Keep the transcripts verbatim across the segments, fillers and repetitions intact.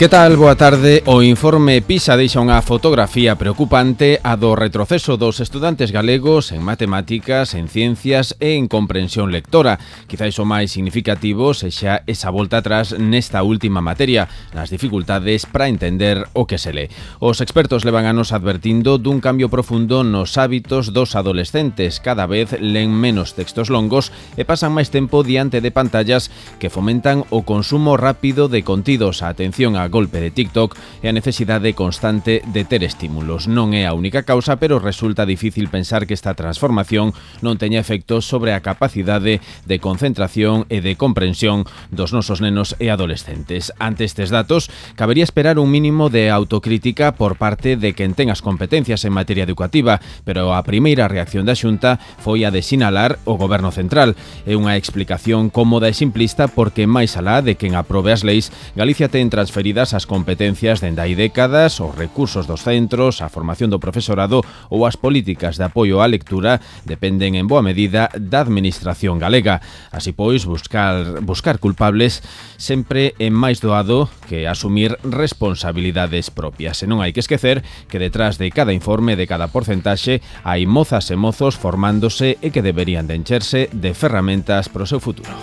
Que tal? Boa tarde. O informe PISA deixa unha fotografía preocupante a do retroceso dos estudantes galegos en matemáticas, en ciencias e en comprensión lectora. Quizais o máis significativo sexa esa volta atrás nesta última materia, nas dificultades para entender o que se lee. Os expertos levan anos advertindo dun cambio profundo nos hábitos dos adolescentes. Cada vez len menos textos longos e pasan máis tempo diante de pantallas que fomentan o consumo rápido de contidos, a atención a golpe de TikTok e a necesidade constante de ter estímulos. Non é a única causa, pero resulta difícil pensar que esta transformación non teña efectos sobre a capacidade de concentración e de comprensión dos nosos nenos e adolescentes. Ante estes datos, cabería esperar un mínimo de autocrítica por parte de quen ten as competencias en materia educativa, pero a primeira reacción da Xunta foi a de sinalar o Goberno Central. É unha explicación cómoda e simplista porque, máis alá de quen aprobe as leis, Galicia ten transferidas as competencias dende hai décadas, os recursos dos centros, a formación do profesorado ou as políticas de apoio á lectura dependen en boa medida da administración galega. Así pois, buscar, buscar culpables sempre é máis doado que asumir responsabilidades propias. E non hai que esquecer que detrás de cada informe, de cada porcentaxe, hai mozas e mozos formándose e que deberían de encherse de ferramentas para o seu futuro.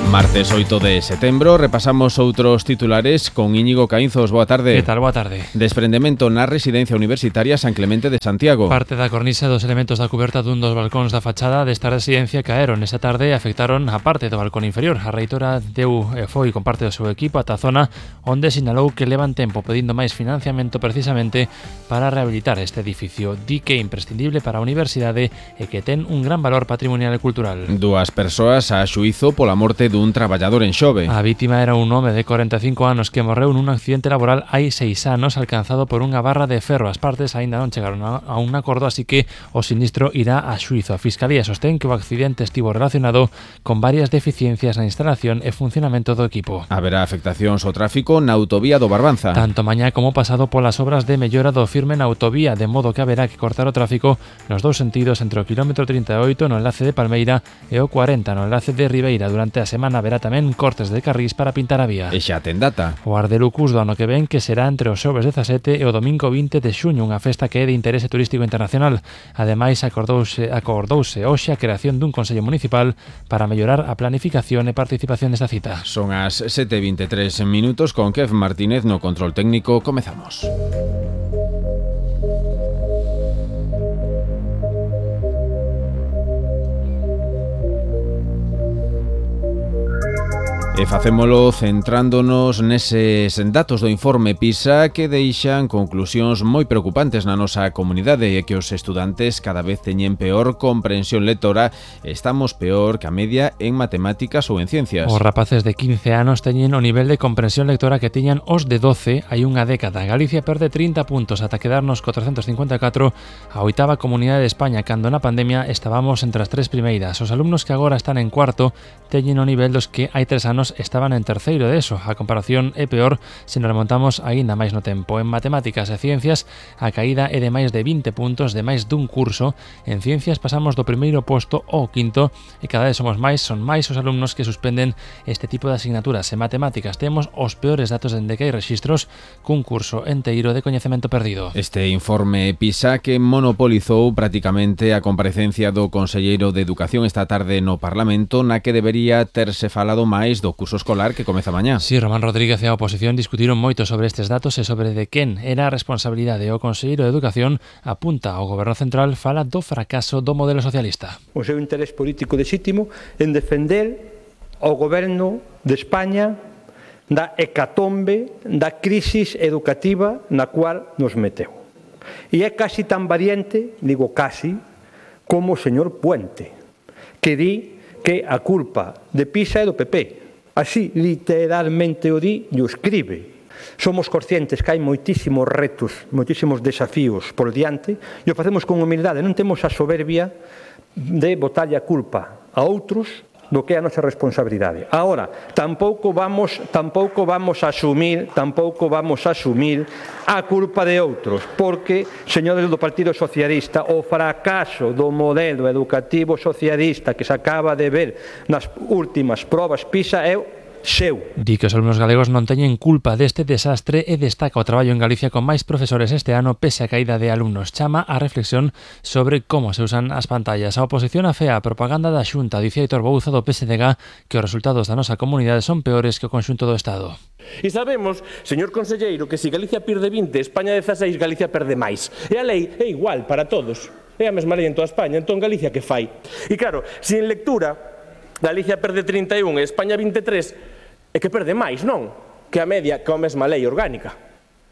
Martes oito de setembro, repasamos outros titulares con Íñigo Caínzos. Boa tarde. Que tal? Boa tarde. Desprendemento na residencia universitaria San Clemente de Santiago. Parte da cornisa dos elementos da cuberta dun dos balcóns da fachada desta residencia caeron esta tarde e afectaron a parte do balcón inferior. A reitora deu e foi con parte do seu equipo ata a zona onde sinalou que levan tempo pedindo máis financiamento precisamente para rehabilitar este edificio. Di que é imprescindible para a universidade e que ten un gran valor patrimonial e cultural. Dúas persoas a xuízo pola morte dun traballador en Xove. A vítima era un home de corenta e cinco anos que morreu nun accidente laboral hai seis anos alcanzado por unha barra de ferro. As partes aínda non chegaron a, a un acordo, así que o sinistro irá a xuízo. A Fiscalía sostén que o accidente estivo relacionado con varias deficiencias na instalación e funcionamento do equipo. Haberá afectacións ao tráfico na autovía do Barbanza. Tanto mañá como pasado polas obras de mellora do firme na autovía, de modo que haberá que cortar o tráfico nos dous sentidos entre o quilómetro trinta e oito no enlace de Palmeira e o cuarenta no enlace de Ribeira. Durante a semana haberá tamén cortes de carrís para pintar a vía. E xa ten data. O Ardelucus do ano que ven, que será entre o xoves dezasete e o domingo vinte de xuño, unha festa que é de interese turístico internacional. Ademais, acordouse, acordouse hoxe a creación dun Consello Municipal para mellorar a planificación e participación desta cita. Son as sete e vinte e tres minutos con Kev Martínez no control técnico. Comezamos. E facémolo centrándonos neses datos do informe PISA que deixan conclusións moi preocupantes na nosa comunidade e que os estudantes cada vez teñen peor comprensión lectora e estamos peor que a media en matemáticas ou en ciencias. Os rapaces de quince anos teñen o nivel de comprensión lectora que tiñan os de doce hai unha década. Galicia perde trinta puntos ata quedarnos cuatrocentos cincuenta e catro a oitava comunidade de España, cando na pandemia estábamos entre as tres primeiras. Os alumnos que agora están en cuarto teñen o nivel dos que hai tres anos estaban en terceiro de eso. A comparación é peor se nos remontamos aínda máis no tempo. En matemáticas e ciencias a caída é de máis de vinte puntos de máis dun curso. En ciencias pasamos do primeiro posto ao quinto e cada vez somos máis, son máis os alumnos que suspenden este tipo de asignaturas. En matemáticas temos os peores datos dende que hai rexistros, cun curso enteiro de coñecemento perdido. Este informe PISA que monopolizou prácticamente a comparecencia do conselleiro de Educación esta tarde no Parlamento, na que debería terse falado máis do curso escolar que comeza mañá. Sí, Román Rodríguez e a oposición discutiron moito sobre estes datos e sobre de quen era a responsabilidade. O conselleiro de Educación apunta ao Goberno Central, fala do fracaso do modelo socialista. O seu interés político lexítimo en defender ao Goberno de España da hecatombe, da crisis educativa na cual nos meteu. E é casi tan variante, digo casi, como o señor Puente, que di que a culpa de PISA é do P P. Así, literalmente o di e o escribe. Somos conscientes que hai moitísimos retos, moitísimos desafíos por diante e o facemos con humildade. Non temos a soberbia de botarlle a culpa a outros do que é a nosa responsabilidade. Agora, tampouco vamos, tampouco vamos a asumir, tampouco vamos a asumir a culpa de outros, porque, señores do Partido Socialista, o fracaso do modelo educativo socialista que se acaba de ver nas últimas probas PISA é seu. Di que os alumnos galegos non teñen culpa deste desastre e destaca o traballo en Galicia con máis profesores este ano pese a caída de alumnos. Chama a reflexión sobre como se usan as pantallas. A oposición afea a propaganda da Xunta. Dicía Aitor Bouza do P S D G que os resultados da nosa comunidade son peores que o conxunto do Estado. E sabemos, señor conselleiro, que se Galicia perde vinte, España dezaseis, Galicia perde máis. E a lei é igual para todos. É a mesma lei en toda España. Entón, Galicia que fai? E claro, se en lectura Galicia perde trinta e un e España vinte e tres, é que perde máis, non? Que a media, que a mesma lei orgánica.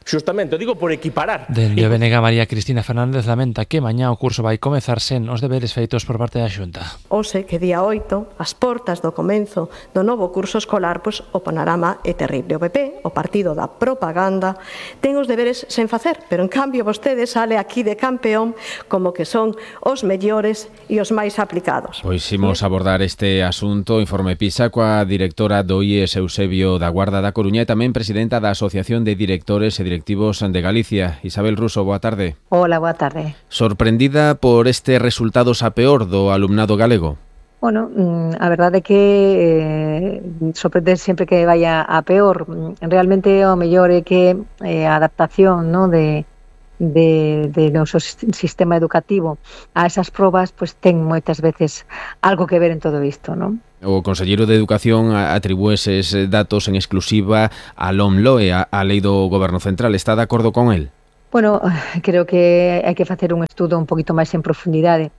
Xustamente, o digo por equiparar. Dende o B N G María Cristina Fernández lamenta que mañá o curso vai comezar sen os deberes feitos por parte da Xunta. Ose que día oito, as portas do comenzo do novo curso escolar, pois o panorama é terrible. O P P, o partido da propaganda, ten os deberes sen facer, pero en cambio vostede sale aquí de campeón como que son os mellores e os máis aplicados. Pois imos abordar este asunto, informe PISA, coa directora do I E S Eusebio da Guarda da Coruña e tamén presidenta da Asociación de Directores e Directivos de Galicia. Isabel Ruso, boa tarde. Hola, boa tarde. Sorprendida por este resultados a peor do alumnado galego? Bueno, a verdade é que eh, sorprende sempre que vaya a peor. Realmente o mellor é que eh, a adaptación, ¿no?, de de, de noso sistema educativo a esas probas, pues ten moitas veces algo que ver en todo isto, ¿no? O conselleiro de Educación atribúe eses datos en exclusiva á LOMLOE, a, a Lei do Goberno Central. Está de acordo con el? Bueno, creo que hai que facer un estudo un poquito máis en profundidade.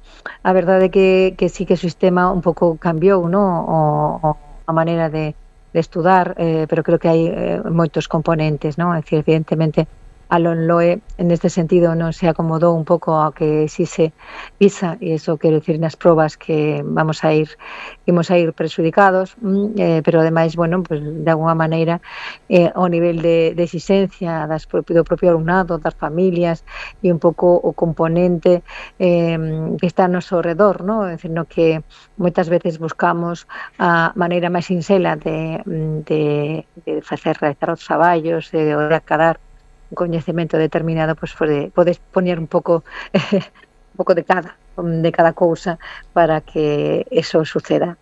A verdade é que, que sí que o sistema un pouco cambiou, ¿no?, o, o a maneira de, de estudar, eh, pero creo que hai eh, moitos componentes, ¿no? É dicir, evidentemente, a LOMLOE en este sentido non se acomodou un pouco ao que exixe PISA, e iso quero dicir nas probas que vamos a ir imos a ir prexudicados, eh, pero ademais, bueno, pues, de alguma maneira eh, o nivel de, de exigencia das, do propio alumnado, das familias e un pouco o componente eh, que está no seu redor, ¿no? É dicir, no que moitas veces buscamos a maneira máis sinxela de, de, de facer realizar os traballos, de, de acadar un coñecemento determinado, pois pode, podes poñer un pouco eh, un pouco de cada de cada cousa para que eso suceda.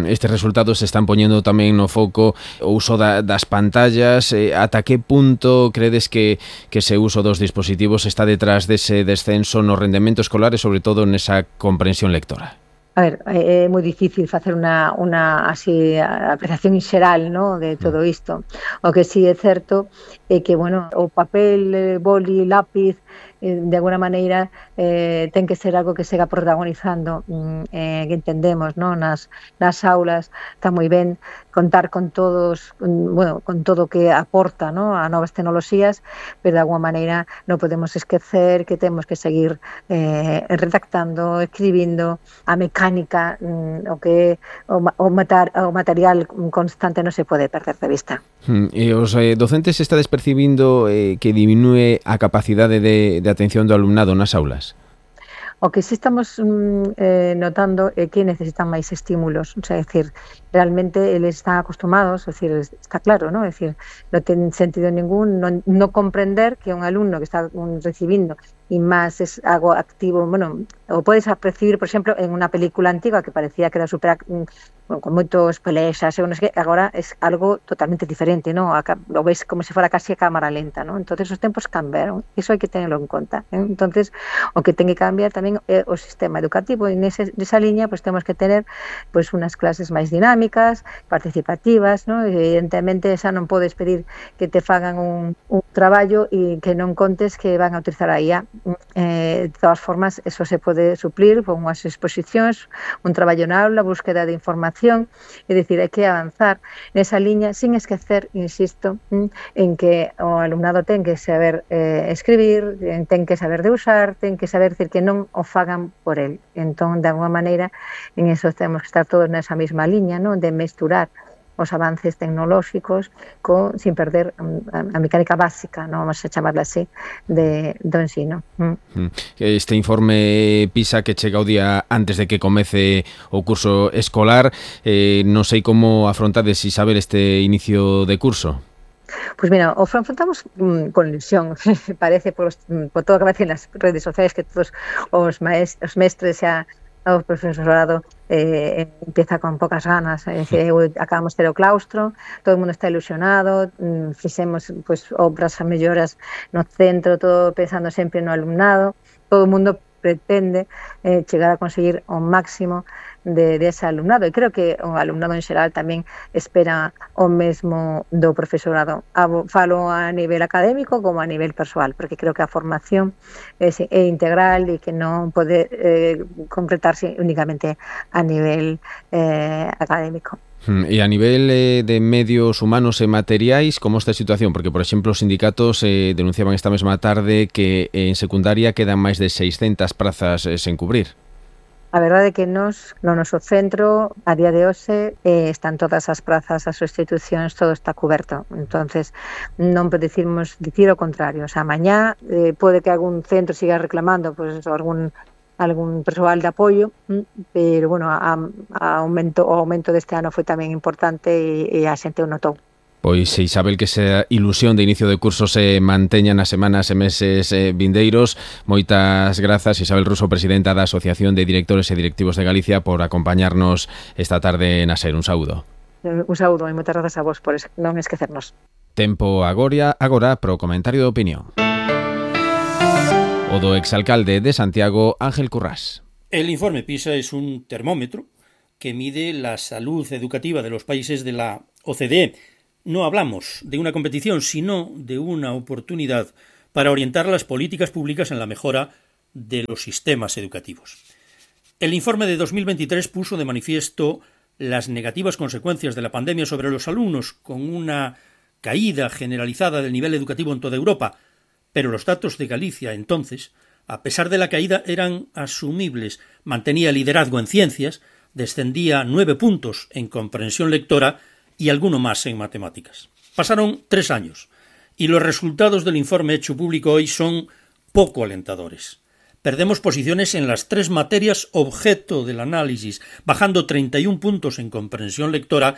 Estes resultados se están poñendo tamén no foco o uso da, das pantallas. Eh, ata que punto credes que, que ese uso dos dispositivos está detrás dese descenso no rendemento escolar e sobre todo nesa comprensión lectora? A ver, é moi difícil facer unha, unha así, apreciación xeral, ¿no?, de todo isto. O que sí é certo é que, bueno, o papel, boli, lápiz, eh, de alguna maneira eh, ten que ser algo que sega protagonizando, eh, que entendemos, ¿no?, nas, nas aulas. Está moi ben contar con todos, bueno, con todo o que aporta, ¿no?, a novas tecnoloxías, pero de alguna maneira non podemos esquecer que temos que seguir eh, redactando, escribindo, a mecánica, o que o, o, matar, o material constante non se pode perder de vista. E os eh, docentes está despercibindo eh, que diminúe a capacidade de, de atención do alumnado nas aulas? O que sí estamos mm, eh, notando é que necesitan máis estímulos, o sea, é dicir, realmente eles están acostumados, é dicir, está claro, ¿no? É dicir, non ten sentido ningún non, non comprender que un alumno que está un, recibindo e máis es algo activo, bueno, o podes percibir, por exemplo, en unha película antiga que parecía que era super, bueno, con moitos pelexas, non sei que, agora é algo totalmente diferente, ¿no? Lo ves como se fora casi a cámara lenta, ¿no? Entonces os tempos cambiaron, iso hai que tenerlo en conta, ¿eh? Entonces o que ten que cambiar tamén é o sistema educativo, e nese, nesa liña pues temos que tener pues unas clases máis dinámicas, participativas, ¿no? Evidentemente xa non podes pedir que te fagan un, un traballo e que non contes que van a utilizar a I A. Eh, de todas formas, eso se pode suplir con unhas exposicións, un traballo na aula, búsqueda de información, é dicir, hai que avanzar nesa liña sin esquecer, insisto, en que o alumnado ten que saber eh, escribir, ten que saber de usar, ten que saber decir que non o fagan por el. Entón, de alguma maneira, en eso temos que estar todos nesa mesma liña, ¿no?, de mesturar os avances tecnolóxicos con, sin perder a, a mecánica básica, non vamos a chamarla así, de, do ensino. Mm. Este informe PISA que chega o día antes de que comece o curso escolar, eh, non sei como afrontades, Isabel, este inicio de curso. Pois mira, o afrontamos mm, con ilusión, parece por, os, por todo o que aparece nas redes sociais que todos os, maest, os mestres xa o profesorado eh, empieza con pocas ganas, é dicir, acabamos de ter o claustro, todo o mundo está ilusionado, mm, fixemos pois, obras a melloras no centro, todo pensando sempre no alumnado, todo o mundo pretende eh, chegar a conseguir o máximo de, de ese alumnado, e creo que o alumnado en xeral tamén espera o mesmo do profesorado. A, falo a nivel académico como a nivel persoal, porque creo que a formación é, é integral e que non pode eh, concretarse únicamente a nivel eh, académico. E a nivel eh, de medios humanos e materiais, como está a situación? Porque, por exemplo, os sindicatos eh, denunciaban esta mesma tarde que en secundaria quedan máis de seiscentas prazas eh, sen cubrir. A verdade é que nos, no noso centro, a día de hoxe, eh, están todas as prazas, as sustitucións, todo está coberto. Entonces, non podemos dicir o contrario. O sea, mañá eh, pode que algún centro siga reclamando pues, algún algún persoal de apoio, pero, bueno, a, a aumento, o aumento deste ano foi tamén importante e, e a xente o notou. Pois, Isabel, que esa ilusión de inicio de curso se manteña nas semanas e meses eh, vindeiros. Moitas grazas, Isabel Ruso, presidenta da Asociación de Directores e Directivos de Galicia, por acompañarnos esta tarde na SER. Un saúdo. Un saúdo e moitas grazas a vos por non esquecernos. Tempo agora, agora pro comentario de opinión. O do exalcalde de Santiago, Ángel Currás. El informe PISA es un termómetro que mide la salud educativa de los países de la O C D E. No hablamos de una competición, sino de una oportunidad para orientar las políticas públicas en la mejora de los sistemas educativos. El informe de dos mil veintitrés puso de manifiesto las negativas consecuencias de la pandemia sobre los alumnos, con una caída generalizada del nivel educativo en toda Europa, pero los datos de Galicia entonces, a pesar de la caída, eran asumibles. Mantenía liderazgo en ciencias, descendía nueve puntos en comprensión lectora y alguno más en matemáticas. Pasaron tres años y los resultados del informe hecho público hoy son poco alentadores. Perdemos posiciones en las tres materias objeto del análisis, bajando treinta y un puntos en comprensión lectora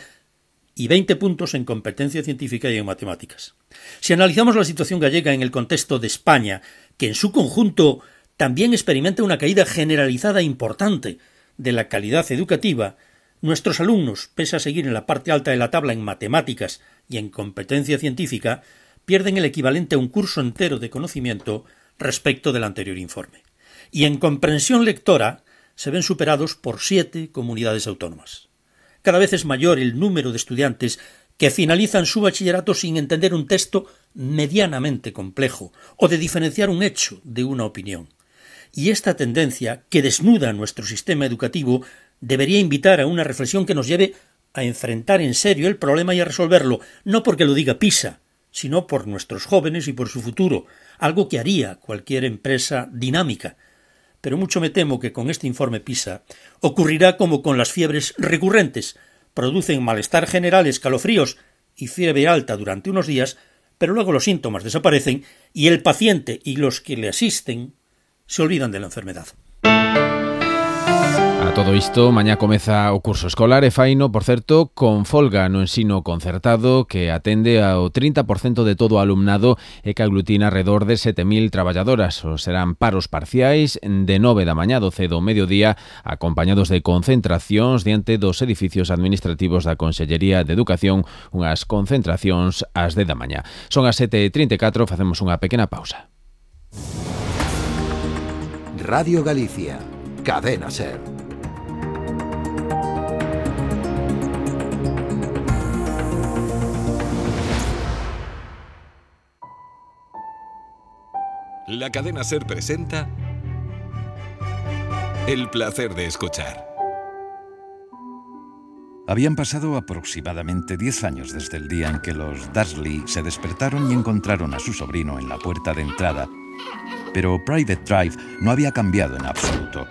y veinte puntos en competencia científica y en matemáticas. Si analizamos la situación gallega en el contexto de España, que en su conjunto también experimenta una caída generalizada importante de la calidad educativa, nuestros alumnos, pese a seguir en la parte alta de la tabla en matemáticas y en competencia científica, pierden el equivalente a un curso entero de conocimiento respecto del anterior informe. Y en comprensión lectora se ven superados por siete comunidades autónomas. Cada vez es mayor el número de estudiantes que finalizan su bachillerato sin entender un texto medianamente complejo o de diferenciar un hecho de una opinión. Y esta tendencia, que desnuda nuestro sistema educativo, debería invitar a una reflexión que nos lleve a enfrentar en serio el problema y a resolverlo, no porque lo diga PISA, sino por nuestros jóvenes y por su futuro, algo que haría cualquier empresa dinámica. Pero mucho me temo que con este informe PISA ocurrirá como con las fiebres recurrentes. Producen malestar general, escalofríos y fiebre alta durante unos días, pero luego los síntomas desaparecen y el paciente y los que le asisten se olvidan de la enfermedad. A todo isto, mañá comeza o curso escolar e faino, por certo, con folga no ensino concertado que atende ao trinta por cento de todo o alumnado e que aglutina alrededor de sete mil traballadoras. O serán paros parciais de nove da mañá a doce do mediodía, acompañados de concentracións diante dos edificios administrativos da Consellería de Educación, unhas concentracións ás dez da mañá. Son as sete e trinta e catro, facemos unha pequena pausa. Radio Galicia, Cadena SER. La Cadena SER presenta El placer de escuchar. Habían pasado aproximadamente diez años desde el día en que los Dursley se despertaron y encontraron a su sobrino en la puerta de entrada, pero Private Drive no había cambiado en absoluto.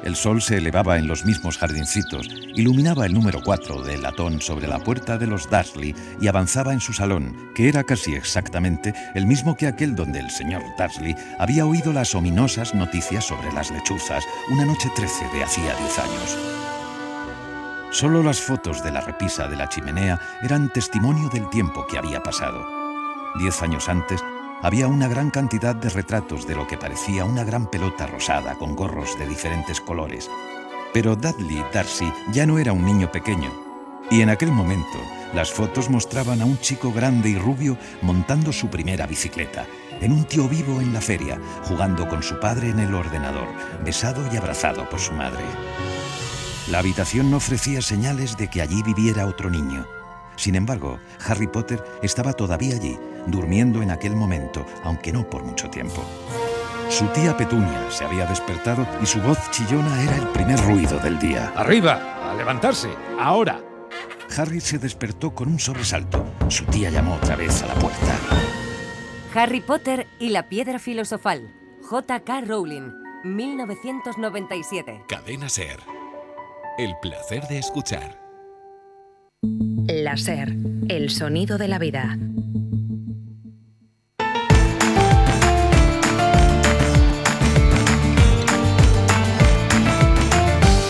El sol se elevaba en los mismos jardincitos, iluminaba el número cuatro del latón sobre la puerta de los Dursley y avanzaba en su salón, que era casi exactamente el mismo que aquel donde el señor Dursley había oído las ominosas noticias sobre las lechuzas una noche trece de hacía diez años. Solo las fotos de la repisa de la chimenea eran testimonio del tiempo que había pasado. Diez años antes, había una gran cantidad de retratos de lo que parecía una gran pelota rosada con gorros de diferentes colores. Pero Dudley Darcy ya no era un niño pequeño, y en aquel momento las fotos mostraban a un chico grande y rubio montando su primera bicicleta, en un tío vivo en la feria, jugando con su padre en el ordenador, besado y abrazado por su madre. La habitación no ofrecía señales de que allí viviera otro niño. Sin embargo, Harry Potter estaba todavía allí, durmiendo en aquel momento, aunque no por mucho tiempo. Su tía Petunia se había despertado y su voz chillona era el primer ruido del día. ¡Arriba! ¡A levantarse! ¡Ahora! Harry se despertó con un sobresalto. Su tía llamó otra vez a la puerta. Harry Potter y la piedra filosofal. J K Rowling, mil novecientos noventa y siete. Cadena SER. El placer de escuchar. La SER, el sonido de la vida.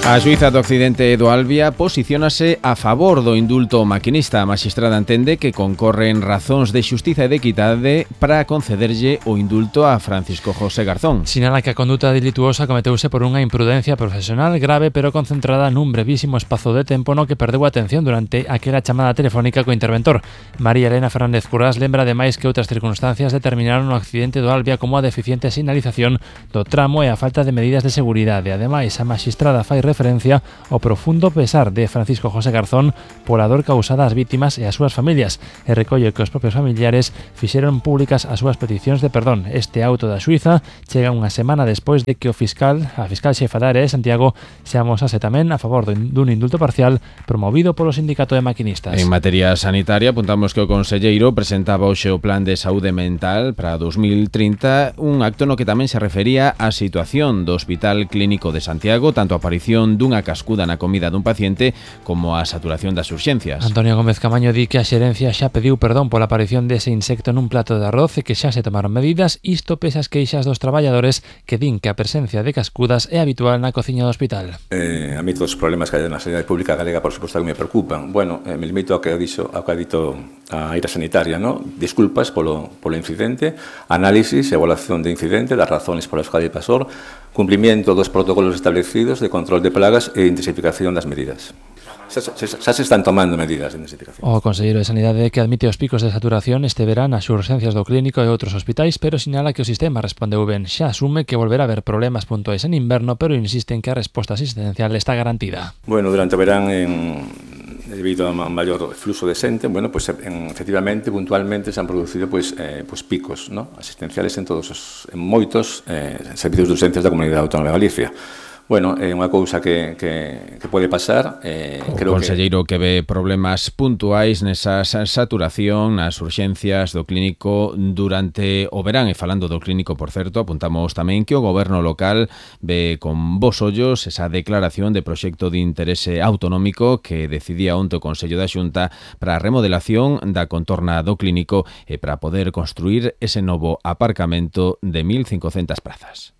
A xuíza do Occidente do Albia posiciónase a favor do indulto maquinista. A maxistrada entende que concorren razóns de xustiza e de equidade para concederlle o indulto a Francisco José Garzón. Sinala que a conduta delituosa cometeuse por unha imprudencia profesional grave pero concentrada nun brevísimo espazo de tempo no que perdeu a atención durante aquela chamada telefónica co interventor. María Elena Fernández Currás lembra ademais que outras circunstancias determinaron o accidente do Albia como a deficiente sinalización do tramo e a falta de medidas de seguridade. Ademais, a maxistrada fai referencia ao profundo pesar de Francisco José Garzón pola dor causada ás vítimas e ás súas familias e recolle que os propios familiares fixeron públicas as súas peticións de perdón. Este auto da xuíza chega unha semana despois de que o fiscal, a fiscal xefa da área de Santiago, se amosase tamén a favor dun indulto parcial promovido polo Sindicato de Maquinistas. En materia sanitaria, apuntamos que o conselleiro presentaba hoxe o Plan de Saúde Mental para dos mil trinta, un acto no que tamén se refería á situación do Hospital Clínico de Santiago, tanto a aparición dunha cascuda na comida dun paciente como a saturación das urxencias. Antonio Gómez Camaño di que a xerencia xa pediu perdón pola aparición dese insecto nun plato de arroz e que xa se tomaron medidas, isto pese as queixas dos traballadores que din que a presencia de cascudas é habitual na cociña do hospital. Eh, a mí todos os problemas que hai na sanidade pública galega, por suposto, que me preocupan. Bueno, eh, me limito ao que ha dixo, ao que ha dito a área sanitaria, ¿no? Disculpas polo, polo incidente, análisis e evaluación de incidente, das razones polas que pasou, cumprimento dos protocolos establecidos de control de plagas e intensificación das medidas. Xa, xa, xa se están tomando medidas de intensificación. O conselleiro de Sanidade que admite os picos de saturación este verán nas urxencias do clínico e outros hospitais, pero sinala que o sistema respondeu ben. Xa asume que volverá a haber problemas puntuais en inverno, pero insiste en que a resposta asistencial está garantida. Bueno, durante o verán, en, debido a un maior fluxo de xente, bueno, pues, en, efectivamente, puntualmente se han producido pues, eh, pues picos, ¿no? asistenciales en todos os, en moitos eh, servicios de urxencias da Comunidade Autónoma de Galicia. Bueno, é unha cousa que, que, que pode pasar. Eh, o creo conselleiro que... que ve problemas puntuais nesa saturación nas urxencias do clínico durante o verán. E falando do clínico, por certo, apuntamos tamén que o goberno local ve con bos ollos esa declaración de proxecto de interese autonómico que decidía onte o Consello da Xunta para a remodelación da contorna do clínico e para poder construir ese novo aparcamento de mil cincocentas prazas.